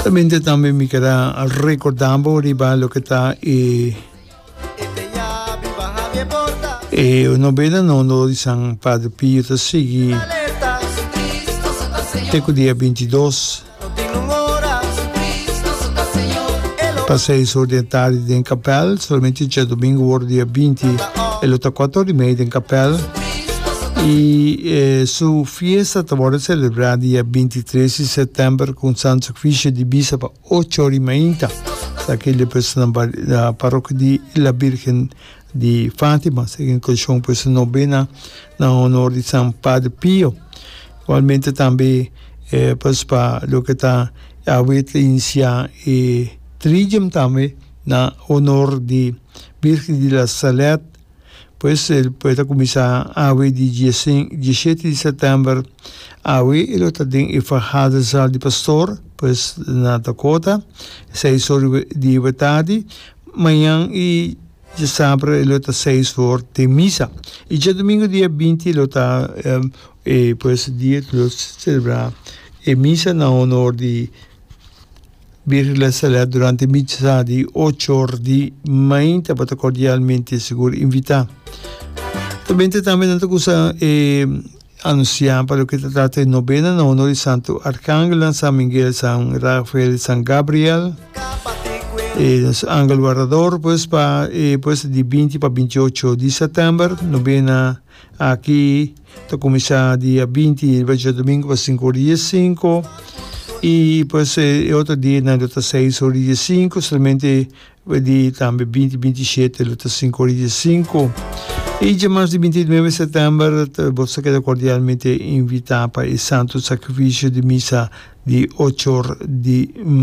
Solamente tambe mi ker a recorda bo riba loke ta e e novena na honor di San Padre Pio ta sigui te ku dia 22 pa seis or di e tardi den kapèl. Solamente djadumingu wòrdu dia 20 e lo ta kuater or di mei den kapèl. I su fiesta ta wòrdu selebrá dia 23 di sètèmber ku un santu sakrifisio di misa pa ocho or di mainta. Esaki lo pues na parokia di La Virgen di Fátima, esaki en konekshon ku su nobena na honor di San Padre Pio. Igualmente tambe pues pa loke ta awe ta inisiá e Tridium tambe na honor di Virgen di la Salette. Pues el por ta kuminsá awe di diesshete di sètèmber. Awe e lo ta den e vergaderzaal di pastor, pues na Dakota, seis or di tardi. Mañan i djasabra e lo ta seis or den misa. I djadumingu dia 20 lo ta e pues dia ku lo selebrá e misa na honor di Birgen La Salette durante misa di ocho or di mainta. Bo ta cordialmente sigur invitá. Tambe tambe nan ta kusa e Anunsiá pa loke ta trata e nobena na honor di Santu Arkangelnan, San Miguel, San Rafael i San Gabriel, e nos angel wardador, pues pa e pues di 20 pa 28 di sètèmber. Nobena aki ta kuminsá dia 20 riba djadumingu pa sinku ora di diesinku i pues e otro dianan lo ta seis ora di diesinku, solamente Di tambe 20 27 lo ta 5 ora di 5. I djamas di 29 september bo ta keda kordialmente invitá pa e Santo Sakrifisio di Misa di 8 or di.